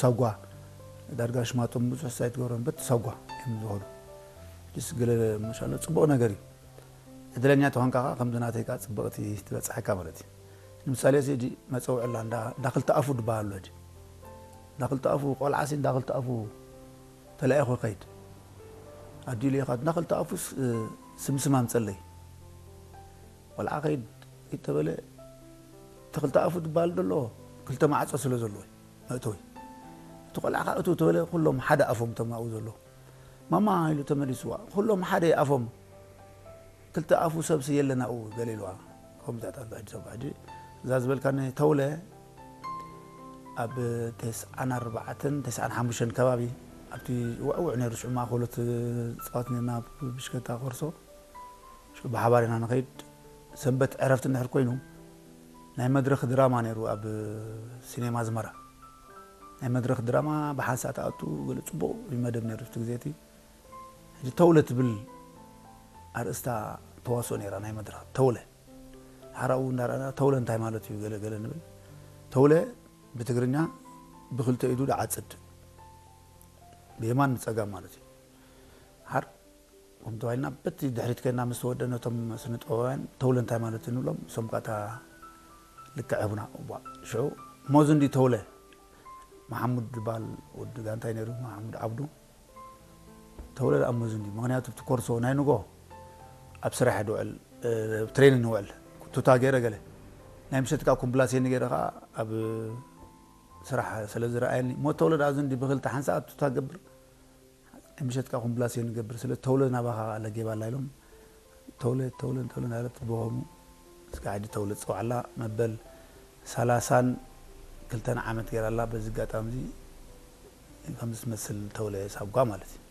ሳጓ ዳርጋ ሽማቶም ብዙሕ ሳይት ገሮም በት ሳጓ እዮም ዝኸዱ። ጅስ ገለ መሻለ ጽቡቕ ነገር እዩ። ዕድለኛ ተኾንካ ኸዓ ከምዚ ናተይ ከዓ ጽብቕቲ ትበጽሓካ ማለት እዩ። ንምሳሌ እዚ ሕጂ መጸውዒ ኣላ እንዳ እንዳ ክልተ ኣፉ ዝበሃል ኣሎ። ሕጂ እንዳ ክልተ ኣፉ ቆልዓ ሲ እንዳ ክልተ ኣፉ ተላኢኹ ይኸይድ። ኣዲኡ ልኢኻ እንዳ ክልተ ኣፉ ስ- ስምስም ኣምጸለይ። ቆልዓ ከይድ ይተበለ እቲ ክልተ ኣፉ ዝበሃል ዘሎ ክልተ ማዕጾ ስለ ዘለዎ እዩ መእተዊ። እቲ ቆልዓ ከዓ እቱ ተበለ ኩሎም ሓደ ኣፎም ተማኡ ዘሎ ማማ ኢሉ ተመሊስዋ። ኩሎም ሓደ ኣፎም ክልተ ኣፉ ሰብሲ የለናኡ ገለ ኢልዋ። ከምዚታት ኣሎ ሕጂ ሰብ ሕጂ እዛ ዝበልካኒ ተውለ ኣብ ተስዓን ኣርባዕተን ተስዓን ሓሙሽተን ከባቢ ኣብቲ ውዕውዕ ነይሩ ሽዑ ማእኸሎት ፃወት ነርና ብሽከታ ኮርሶ ሽዑ ብሓባር ኢና ንኸይድ። ሰንበት ዕረፍቲ እንድሕር ኮይኑ ናይ መድረኽ ድራማ ነይሩ ኣብ ሲኔማ ኣዝመራ። ናይ መድረኽ ድራማ ብሓንሳእ ተኣቱ ገለ ፅቡቕ እዩ መደብ ነይሩ እቲ ግዜ እቲ። ሕጂ ተውለ ትብል ኣርእስታ ተዋስኦ ነይራ ናይ መድረኽ ተውለ። ሓራኡ እንዳረኣና ተውለ እንታይ ማለት እዩ ገለ ገለ ንብል። ተውለ ብትግርኛ ብክልተ ኢዱ ድዓፅድ ብየማን ብፀጋም ማለት እዩ። ሓር ከም ተባሂልና በቲ ድሕሪት ከና ምስ ተወደ ነቶም ስነ ጥበባውያን ተውለ እንታይ ማለት እዩ ንብሎም። እሶም ቃታ ልክዕ ህቡና እዋ ሽዑ ሞዝንዲ ተውለ መሓሙድ ዝበሃል ወዲ ጋንታይ ነይሩ መሓሙድ ዓብዱ ተውለ ደኣ ሞዝንዲ ምክንያቱ እቲ ኮርሶ ናይ ንጎ ኣብ ስራሕ ድውዕል ትሬኒንግ ንውዕል ቱታ ገይረ ገለ ናይ ምሸት ከዓ ኮምፕላሴኒ ገይረ ከዓ ኣብ ስራሕ ስለ ዝረኣየኒ ሞ ተውለ ደኣ ዝንዲ ብክልተ ሓንሳእ ቱታ ገብር ናይ ምሸት ከዓ ኮምፕላሴኒ ገብር ስለ ተውለ ናባኻ ለጌባ ኣላ ኢሎም ተውለ ተውለ ተውለ እናለት ብሆሙ እስካ ሕጂ ተውለ ዝፀውዓላ መበል ሰላሳን ክልተን ዓመት ገይራ ኣላ በዚ ኣጋጣሚ እዚ ከምዚ ትመስል ተውለ ሳጓ ማለት እዩ